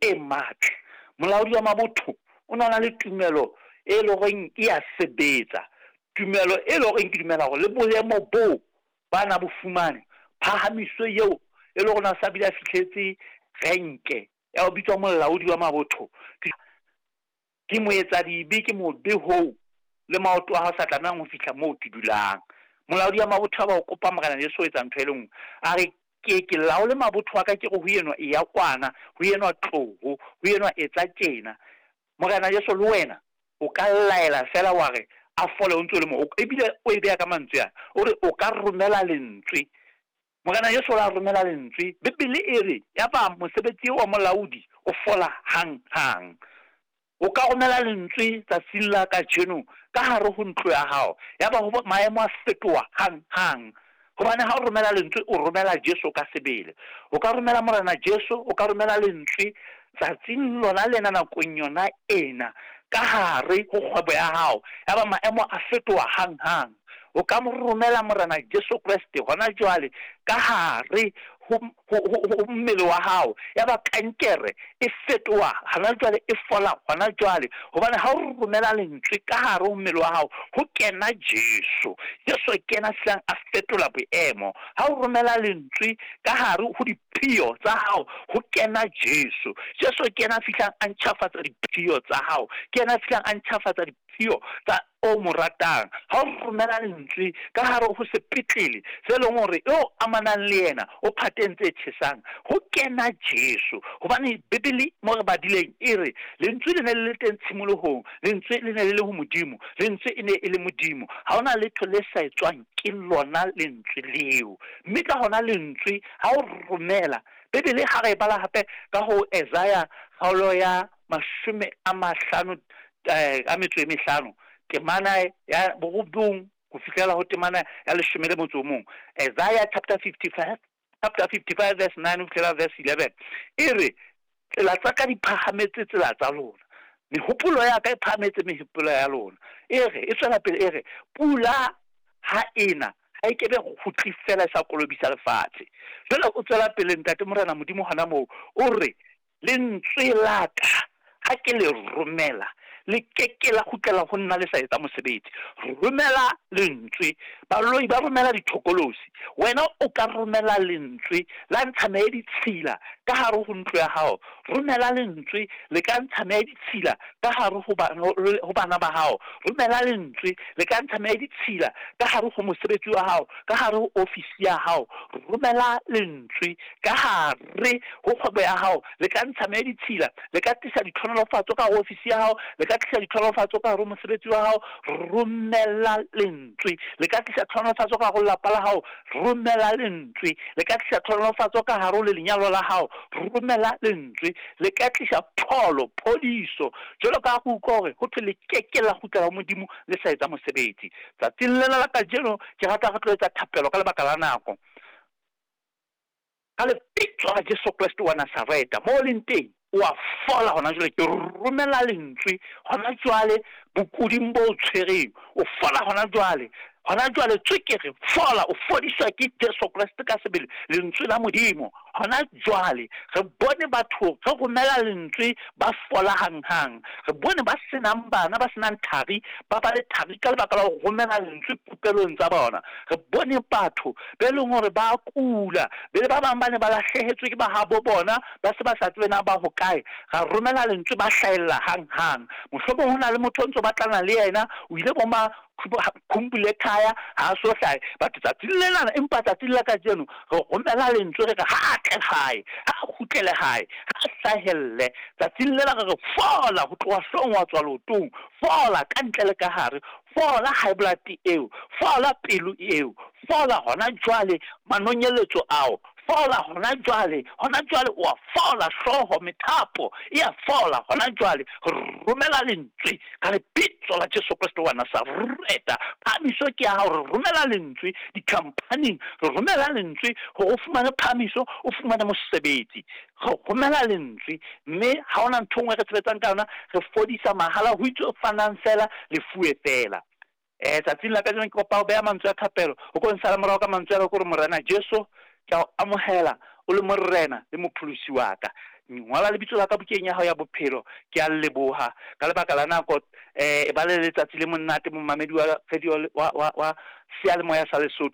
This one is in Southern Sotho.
e matla. Molaodi wa mabotho o ne a na le tumelo e le horeng e ya sebetsa. Tumelo e le horeng ke dumela hore le boemo boo ba na bo fumane, phahamiso eo e le hore na sa bile a fihletse renke ya ho bitswa molaodi wa mabotho. Ke moetsadibe, ke mobe hoo le maoto a hao sa tlamehang ho fihla moo ke dulang. Molaodi wa mabotho a ba o kopa Morena Jesu ho etsa ntho e le nngwe. A re, Ke ke laole mabotho a ka, ke re ho enwa, eya kwana, ho enwa, tloho, ho enwa, etsa tjena. Morena Jesu, le wena o ka laela feela wa re a fole o ntse o le moo. Ebile o e beha ka mantswe ana, o re o ka romela lentswe. Morena Jesu o la romela lentswe. Bibele e re, yaba mosebetsi eo wa molaodi o fola hang-hang. O ka romela lentswe tsatsing la kajeno ka hare ho ntlo ya hao, yaba ho maemo a fetoha hang-hang. Hobane ha o romela lentswe, o romela Jesu ka sebele. O ka romela Morena Jesu, o ka romela lentswe tsatsing lona lena, nakong yona ena, ka hare ho kgwebo ya hao, yaba maemo a fetoha hang-hang. O ka mo romela Morena Jesu Kreste hona jwale ka hare ho, ho, ho, ho mmele wa hao, yaba kankere e fetoha hona jwale, e fola hona jwale. Hobane ha o romela lentswe ka hare ho mmele wa hao, ho kena Jesu. Jesu ke yena fihlang a fetola boemo. Ha o romela lentswe ka hare ho diphio tsa hao, ho kena Jesu. Jesu ke yena fihlang a ntjhafatsa diphio tsa hao. Ke yena fihlang a ntjhafatsa diphio tsa o mo ratang. Ha o romela lentswe ka hare ho sepetlele se leng hore eo amanang le yena o phateng tse tjhesang, ho kena Jesu. Hobane Bibele mo re badileng e re, Lentswe le ne le le teng tshimolohong, lentswe le ne le le ho Modimo, lentswe e ne e le Modimo. Ha hona letho le sa etswang ke lona lentswe leo. Mme ka hona lentswe ha o romela, Bibele ha re e bala hape ka ho Isaiah kgaolo ya 55 a metso e mehlano, temana ya borobong ho fihlela ho temana ya 11. Isaiah chapter 55, chapter 55 verse 9 ho fihlela verse 11 e re, Tsela tsa ka di phahametse tsela tsa lona, mehopolo ya ka e phahametse mehopolo ya lona. E re, e tswela pele e re, pula ha ena ha e kebe kgutli fela e sa kolobisa lefatshe. Jwale o tswela pele Ntate Morena Modimo hona moo, o re, Lentswe la ka, ha ke le romela, le ke ke la kgutlela ho nna le sa etsa mosebetsi. Romela lentswe. Baloi ba romela dithokolosi. Wena o ka romela lentswe la ntsha meya e ditshila ka hare ho ntlo ya hao. Romela lentswe le ka ntsha meya e ditshila ka hare ho ho bana ba hao. Romela lentswe le ka ntsha meya e ditshila ka hare ho mosebetsi wa hao, ka hare ho ofisi ya hao. Romela lentswe ka hare ho kgwebo ya hao, le ka ntsha meya e ditshila, le ka tlisa ditlhonolofatso ka hare ho ofisi ya hao, le ka tlisa ditlhonolofatso ka hare ho mosebetsi wa hao. Romela lentswe, le ka tlisa tlhonolofatso ka hare ho lelapa la hao. Romela lentswe, le ka tlisa tlhonolofatso ka hare ho le lenyalo la hao. Romela lentswe, le ka tlisa pholo, phodiso. Jwalo ka ha re utlwa hore ho thwe le ke ke la kgutlela ho Modimo le sa etsa mosebetsi. Tsatsing lena la kajeno ke rata re tlo etsa thapelo ka lebaka la nako. Ka lebitso la Jesu Kreste wa Nazareta, moo o leng teng, o a fola hona jwale. Ke romela lentswe hona jwale bokuding bo o tshwereng. O fola hona jwale. Hona jwale tswekere, fola, o fodiswa ke Jesu Kreste ka sebele, lentswe la Modimo. Hona jwale re bone batho re romela lentswe ba fola hanghang. Re bone ba senang bana, ba senang thari, ba ba le thari ka lebaka la ho romela lentswe popelong tsa bona. Re bone batho be leng hore ba kula, be le ba bang ba ne ba lahlehetswe ke ba habo bona, ba se ba sa tsebe na ba hokae. Ra romela lentswe, ba hlahella hang-hang. Mohlomong ho na le motho o ntso batlana le yena, o ile bo ma khumbule khaya, ha a so hlahe. Batho tsatsing lenana, empa tsatsing la kajeno re romela lentswe re re ha a tle hae, ha a kgutlele hae, ha a hlahelle. Tsatsing lena re re fola ho tloha hloohong wa tswa leotong, fola ka ntle le ka hare, fola high blood eo, fola pelo eo, fola hona jwale manonyeletso ao, fola hona jwale, hona jwale o a fola, hlooho, methapo e a fola hona jwale. Romela lentswe ka lebitso la Jesu Kreste wa Nazareta. Phahamiso ke ya hao. Re romela lentswe dikhamphaning, re romela lentswe hore o fumane phahamiso, o fumane mosebetsi. Re romela lentswe, mme ha hona ntho e nngwe re sebetsang ka yona, re fodisa mahala, ho itswe fanang fela, le fuwe fela. Tsatsing la kajeno ke kopa ho beha mantswe a thapelo, o ko nsala morao ka mantswe a ka, ke hore Morena Jesu, ke a o amohela o le Morena le Mopholosi wa ka. Ngola lebitso la ka bukeng ya hao ya bophelo. Ke a leboha ka lebaka la nako. E ba le letsatsi le monate, momamedi wa radio wa, wa, wa seyalemoya sa Lesotho.